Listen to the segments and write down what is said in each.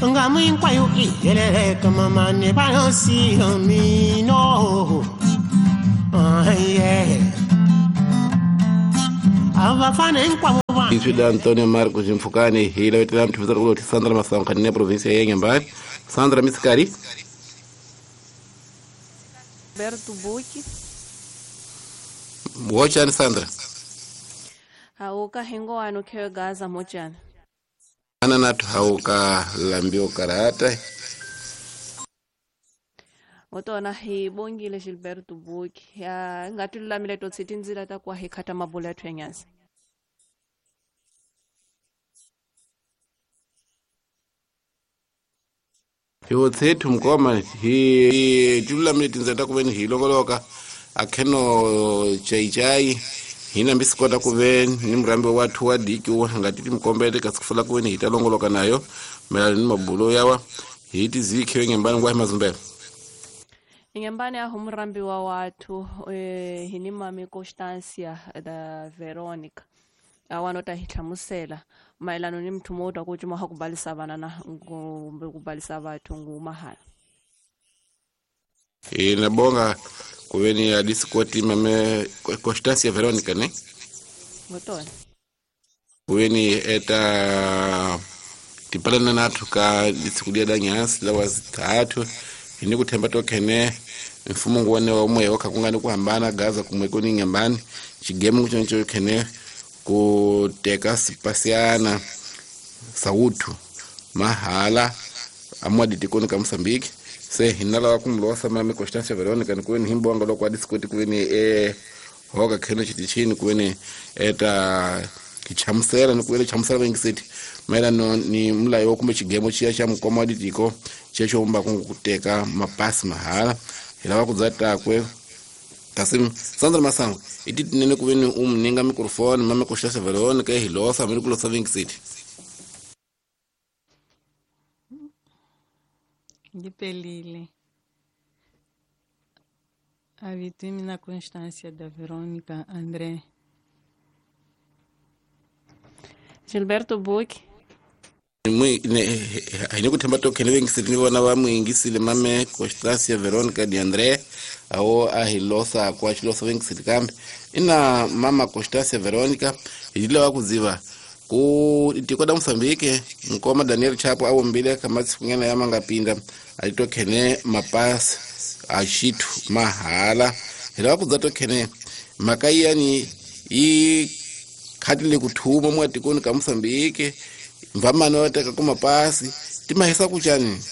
Ngamu hinkwayo i heleleka mamani va yo siya mino. Yeah. A va fana hinkwavo va Izwi la Antonio Marcos Mfukani hi lavetela mthuvisana kuloti Sandra Masango ne provinsia ya Inhambane. Sandra Misikari. Roberto Buki. Wochani Sandra. Hauka hingo wanu khewe Gaza mochani. Ana natu hauka lambio karata. Otona hi bongile Gilberto Buki. Ya ngati lulamile totsi tindzila ta kwa hi khata mabula ya thwenyasi. Hiwo tsethu mkoma hi tilulamile tindzila ta kuveni hi longoloka akheno chaichai hina mbisikota kuveni ni murambi wathu wa diki wa ngati timkombele kasikufula kuveni hi ta longoloka nayo mayelana ni mabulo yawa hi tizikhiwe ngembani ngwa hi mazumbelo. Ingembani aho murambi wa wathu hini mami Constancia da Veronica awanota hi hlamusela mayelana ni mthumo wo ta ku cuma ha ku balisa vana na kumbe ku balisa vathu ngumahala. Inabonga kuveni adisikoti mame Constancia Veronica ne ngotona kuveni eta tipalana nathu ka disikudia da nyasi la wazithathu ini kuthemba tokhene mfumo nguone wa umwe wakha kungani kuhambana Gaza kumwe kuni ngembani chigemu kuchoncho khene kuteka sipasiana sautu mahala amwadi tikoni ka Mozambique se hinala kumlosa mame Constancia Veronica ni himbonga lokwa disikoti kweni hoka khene chitichini kweni eta kichamusela ni kweni chamusela vengisiti maelano ni mulayo kumbe chigemo chiya cha mukoma wa ditiko checho umba kuteka mapasi mahala hilava kudzatakwe kasi Sandra Masango iti tinene kuveni umninga microphone mame Constancia Veronica hilosa miri kulosa vengisiti. Ngipelile. Avitimi na Constância da Verônica André. Gilberto Buki. Haine kuthemba tokhene vengisiti ni vona va muingisile mame Constancia Veronica de André awo a hilosa kwa chilosa vengisiti kambe ina mama Constancia Veronica hilava kudziva ku tiko da Mozambique nkoma Daniel Chapo awombile kamatsikunyana ya mangapinda alitokhene mapasi ashithu mahala hilava kudza tokhene makaiyani i khatile kuthuma mwa tikoni ka Mozambique mvamano wateka kumapasi timahisa kuchani.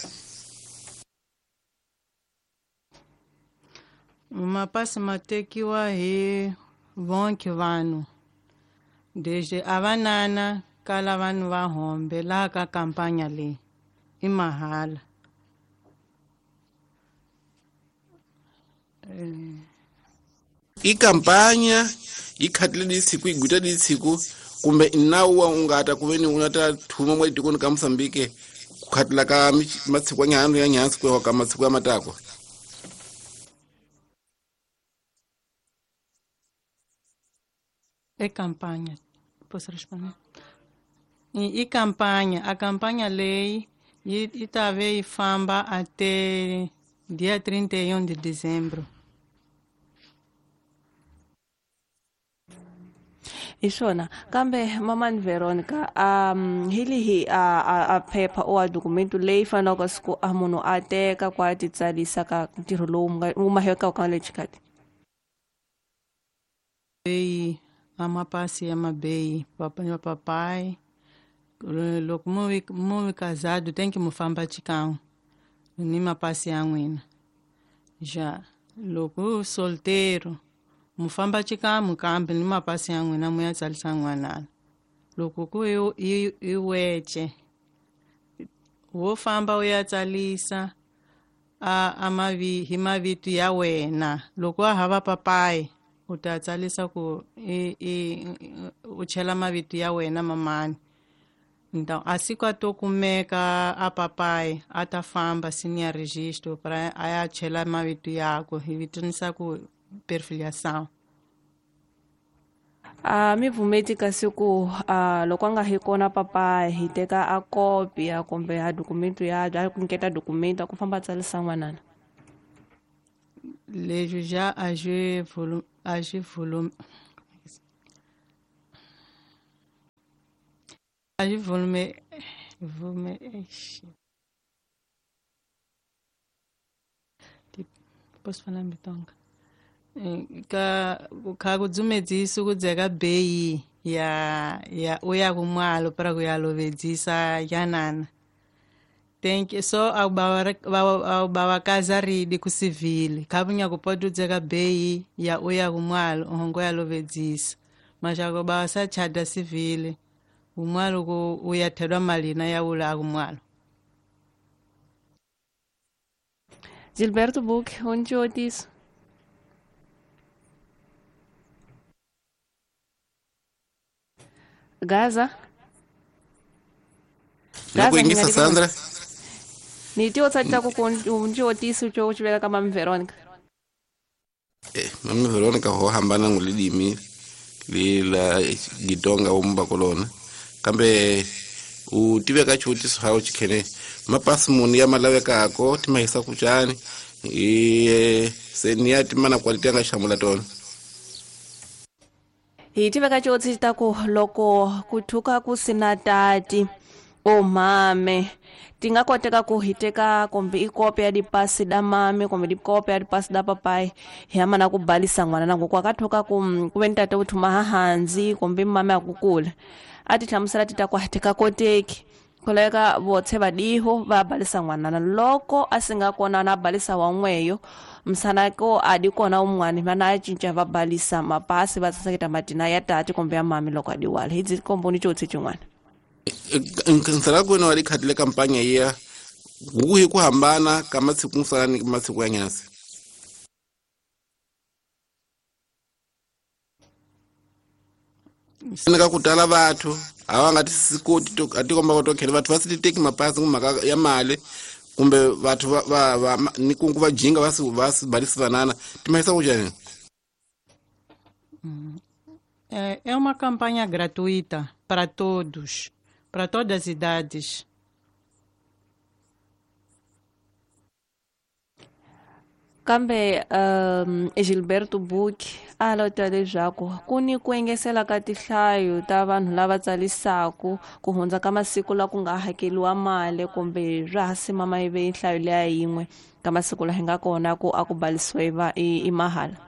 Mapasi matekiwa hi vonke vanhu desde avanana kala vanhu va hombe laha ka kampanya leyi i mahala. I kampanya yi khatile disiku yi gwita disiku kumbe inawu wa ungata kuveni unata thuma mwa tikoni ka Mozambique kukhatila ka matsiku ya nyansi kwewa ka matsiku ya matakwa. É campanha. Posso responder? E campanha. A campanha lei e talvez famba até dia 31 de dezembro. Isona kambe mamani Veronica hili hi a paper o a documento leyi faneleke siku a munhu a teka kwa titsalisa ka ntirho lowu wu maheka ka le xikati. Bei amapasi ya mabei papai papai loko mu casado tem que mu famba chikão ni mapasi ya n'wina já loko solteiro mufamba chikamu kambe ni mapasi ya n'wina mu ya tsalisa n'wanana loko ku i wece wo famba u ya tsalisa a mavi hi mavito ya wena loko a hava papai u ta tsalisa ku u chela mavito ya wena mamani. Então assim que eu kumeka a papai a ta famba sinia registro para a ya chela mavito yako hi vitanisa ku perfiliação. A mi pfumeti kasi ku loko a nga hi kona papa hi teka a kopia kumbe a dokumento ya a ku nyiketa dokumento a ku famba a tsarisa n'wanana. Leswi já a swi vulu a swi vulu a swi vulume vume eish. Posso falar em Bitonga? Ka kha kudzumedzisa kudzeka beyi ya ya uya kumwalo para kuyalovedzisa yanana. Thank you. So awubawakaza ridi kusivili khabunya kupota udzeka beyi ya uya kumwalo ohongo yalovedzisa mashako bawasachada sivili umwalo ku uyathedwa malina ya ula akumwalo. Gilberto Buch, onde otis? Gaza. Na ku Gaza yingisa hi nga ri Sandra. Ni ti otsatisa ku unji otisi cho chiveka ka Mami Veronica. Mami Veronica ho hambana ngulidimi li la Gitonga umba kolona. Kambe u tiveka xivutiso xa xikhene mapasi muni ya malavekako ti mahisa ku cani se ni ya timana quality ya nga xamula tona. Hi tiveka xivutiso ta ku loko ku thuka ku sina tati o mame ti nga koteka ku hi teka kumbe i kopi ya dipasi da mame kumbe dikopi ya dipasi da papai hi ya mana ku balisa n'wana na ngoku akathuka ku ku ve ni tata u thuma hahanzi kumbe mame a ku kula a ti hlamusela ti ta ku a ti ka koteki ku laveka votshe vadiho va balisa n'wanana loko a si nga kona na balisa wan'weyo msana ko a di kona un'wana vana a cinca va balisa mapasi va saseketa matina ya tati kumbe ya mami loko a diwala hi dzi komboni xotsi xin'wana. Nsala kwena wa likhatile kampanya iya kuhi ku hambana ka masiku musala ni masiku ya nyasi. Ka ku tala vathu a va nga tisikoti to a tikomba ku tokhela vathu va si titeki mapasi mhaka ya mali kumbe vathu va va ni kungu va jinga va si balisi vanana timahisa ku njhani? É uma campanha gratuita para todos, para todas as idades. Kambe Gilberto Buch a lota leswaku ku ni ku engesela ka tinhlayo ta vanhu lava tsalisaku ku hundza ka masiku la ku nga hakeliwa mali kumbe swa ha simama ive nhlayo leya yin'we ka masiku la hi nga kona ku a ku balisiwa i mahala.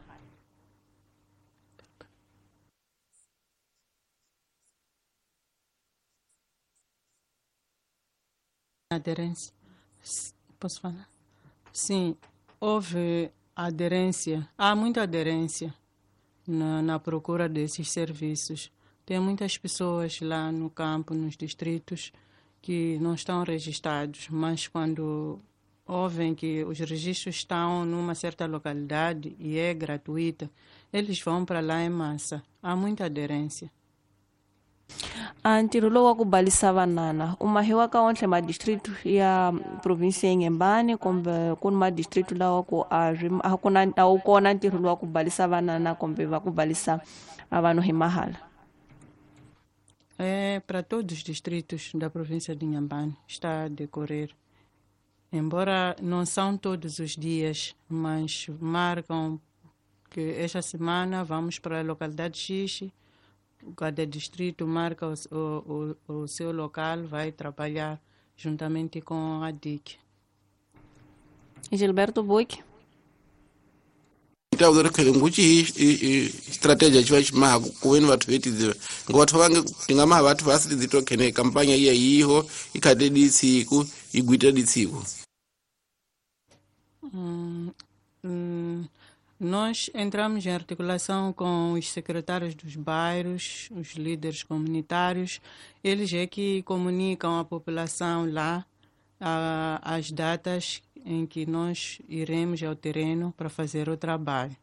Aderência. Posso falar? Sim, houve aderência. Há muita aderência na procura desses serviços. Tem muitas pessoas lá no campo, nos distritos, que não estão registrados, mas quando ouvem que os registros estão numa certa localidade e é gratuita, eles vão para lá em massa. Há muita aderência. A ntirho lowu wa ku balisa vanana u mahiwa ka ontlhe madistrict ya province ya Inhambane kumbe ku ni madistrict lawa ku a swi a ku na a wu kona ntirho lowu wa ku balisa vanana kumbe va ku balisa a vanhu hi mahala. É para todos os distritos da província de Inhambane, está a decorrer. Embora não são todos os dias, mas marcam que esta semana vamos para a localidade X, cada distrito marca o seu local, vai trabalhar juntamente com a DIC. Gilberto Buch. Então, nguchi estratégia chiva chimaha kuveni vathu vetidziva ngo vathu vange tingamaha vathu vasitidzitokhene kampanya iya yiho ikhate ditsiku igwita ditsiku. Nós entramos em articulação com os secretários dos bairros, os líderes comunitários. Eles é que comunicam à população lá as datas em que nós iremos ao terreno para fazer o trabalho.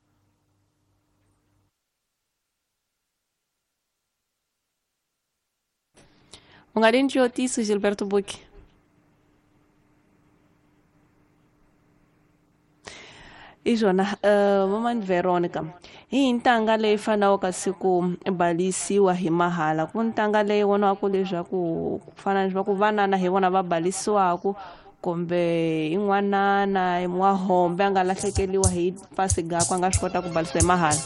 Ungarinji otiso Gilberto Buch. Ixona, mamani Veronica, Hi ntanga leyi fanaka kasi ku balisiwa hi mahala ku ntanga leyi vonaka leswaku ku fana ni leswaku vanana hi vona va balisiwaku kumbe in'wanana n'wahombe a nga lahlekeriwa hi pasi gakwe a nga swi kota ku balisiwa hi mahala.